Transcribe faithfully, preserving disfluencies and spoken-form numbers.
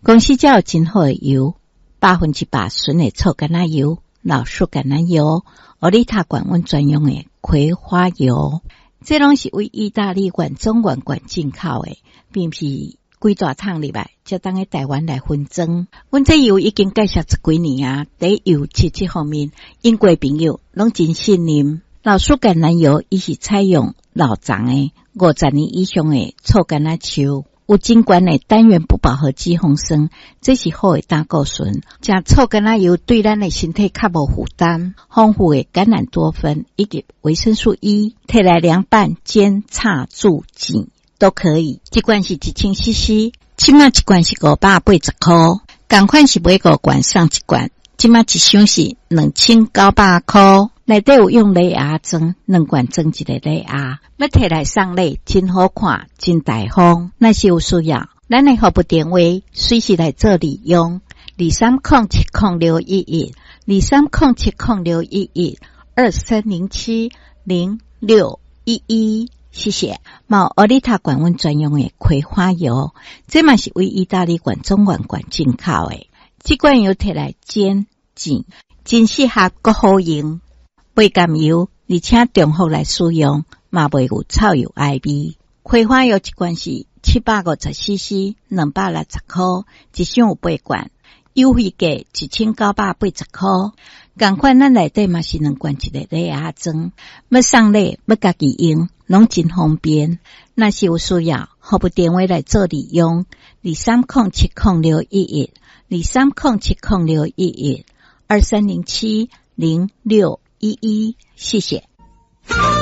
公司遮有真好的油，百分之百純的醋橄欖油、老樹橄欖油、奧利塔罐阮專用的葵花油，這攏是為意大利原裝原罐進口的，並毋是規大桶入來，才當去台灣來分裝。阮這油已經介紹十幾年啊，佇油質這方面，英國朋友攏真信任。老樹橄欖油，伊是採用老欉的五十年以上的醋橄欖樹，有真懸的單元不飽和脂肪酸，這是好的膽固醇。食醋橄欖油對咱的身體較無負擔，豐富的橄欖多酚以及維生素 E，提來涼拌、煎、炒、煮、煎都可以。一罐是一千 C C，這馬一罐是五百八十箍，仝款是買五罐送一罐，這馬一箱是兩千九百箍。內底有用禮盒裝，兩罐裝一個禮盒，欲提來送禮，真好看，真大方。若是有需要，咱的服務電話隨時來做利用，二三空七空六一一，二三空七空六一一，二三零七零六一一。謝謝。嘛有奧利塔罐阮專用的葵花油，這嘛是為意大利原裝原罐進口的。這罐油提來煎煎，真適合閣好用。袂含油，而且重複來使用，嘛袂有臭油埃味。葵花油一罐是七百五十 C C，兩百六十箍，一箱有八罐，優惠價一千九百八十箍。仝款咱內底嘛是兩罐一個禮盒裝，欲送禮欲家己用，攏真方便。若是有需要，服務電話來做利用，二三空七空六一一，二三空七空六一一，二三零七零六一一，謝謝。